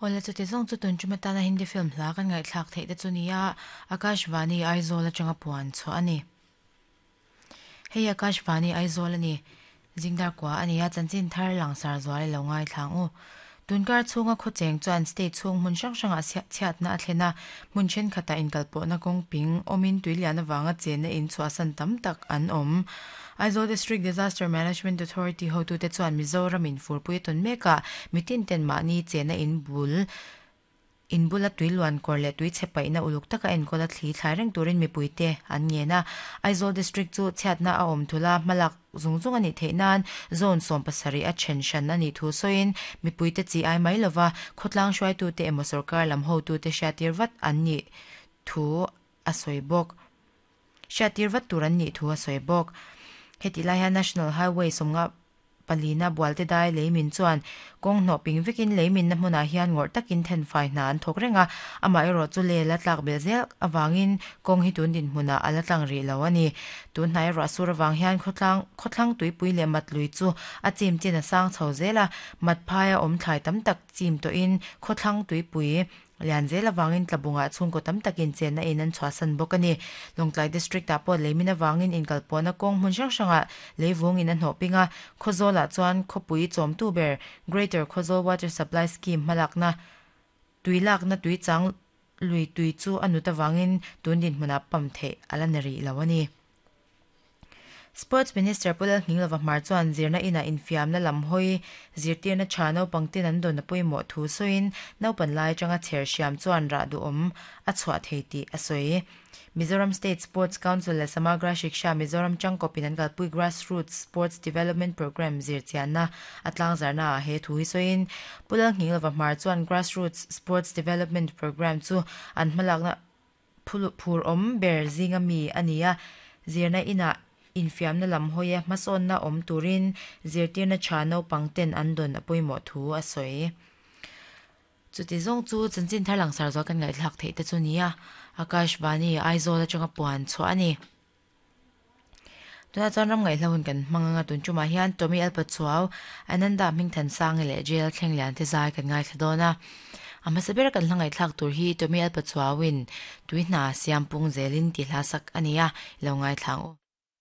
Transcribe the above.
Awle chuti zawng chu tun tum atana Hindi film hla kan ngaihthlak theih te chu nia Akashvani Aizawl atanga puan chhuah a ni. Hei Akashvani Aizawl a ni. Zingdar kua a ni a, chanchin thar langsar zual i lo ngaithla ang u. Tunkar chhunga khawcheng chuan state chhung hmun hrang hrangah chhiatna a thlen a, hmun thenkhatah inkalpawhna kawng ping awmin tuilian avanga chenna in chhuahsan tam tak an awm. Aizawl District Disaster Management Authority hotute chuan Mizoram in furpui a tawn mekah mitin ten mahni chenna in bul In bula tui luan kawr leh tui chhe paihna uluk taka enkawl a thli thlai reng turin mipuite an ngen a. Aizawl District chu chhiatna a awm thul a, hmalak zung zung a nih theih nan Zone 70 a then hran a nih thu sawiin mipuite chi ai mai lova khawtlang hruaitute emaw sorkar lam hotute hriattir vat an nih thu a sawi bawk. Hriattir vat tur an nih thu a sawi bawk. Hetih lai hian National Highway 50 palina Bualte dai leimin chuan kawng hnawh ping vekin leiminna hmunah hian ngawrh takin thenfai hna an thawk reng a, amaherawh chu lel a tlak belh zel avangin kawng hi tun dinhmunah a la tlang rih lo a ni. Tun hnai ruah sur avang hian khawtlang khawthlang tuipui leh mat lui chu a chim chin a sang chho zel a, mat phaia awm thlai tam tak chim tawhin khawthlang tuipui Lian zel avangin tlabungah chhungkaw tam takin chenna in an chhuahsan bawk a ni. Lawngtlai District-ah pawh leimin avangin inkalpawhna kawng hmun hrang hrangah leivungin a hnawh ping a, Khawzawlah chuan khawpui chawmtu ber Greater Khawzawl Water Supply Scheme hmalakna tui lakna tuichang lui tui chu a nut avangin tun dinhmunah pump theih a la ni rih lo a ni. Sports Minister Pu Lalhminglova Hmar chuan zirna inah infiamna lam hawi zirtirna tha naupang ten an dawn a pawimawh thu sawiin naupan lai atanga chher hriam chuan rah duhawm a chhuah thei tih a sawi. Mizoram State Sports Council leh Samagra Shiksha Mizoram tangkawpin an kalpui Grassroots Sports Development Programme zirchianna a tlangzarna ah he thu hi sawiin Pu Lalhminglova Hmar chuan Grassroots Sports Development Programme chu an hmalakna Phur awm ber zinga mi a ni a, zirna inah infiamna lam hawia hmasawnna awm turin zirtirna tha naupang ten an dawn a pawimawh thu a sawi. Chuti zawng chu chanchin thar langsar zual kan ngaihthlak theih te chu nia, Akashvani, Aizawl atanga puan chhuah a ni. Tunah chuan ram ngaihhla hun kan hmang anga tun tumah hian Tommy Alpachuau, Ananda Hmingthansangi leh Jail Thlenglian te zai kan ngaithla dawn a. A hmasa bera kan hla ngaihthlak tur hi Tommy Alpachuauin tui hna siam pung zelin tih hla sak a ni a, i lo ngaithla ang u.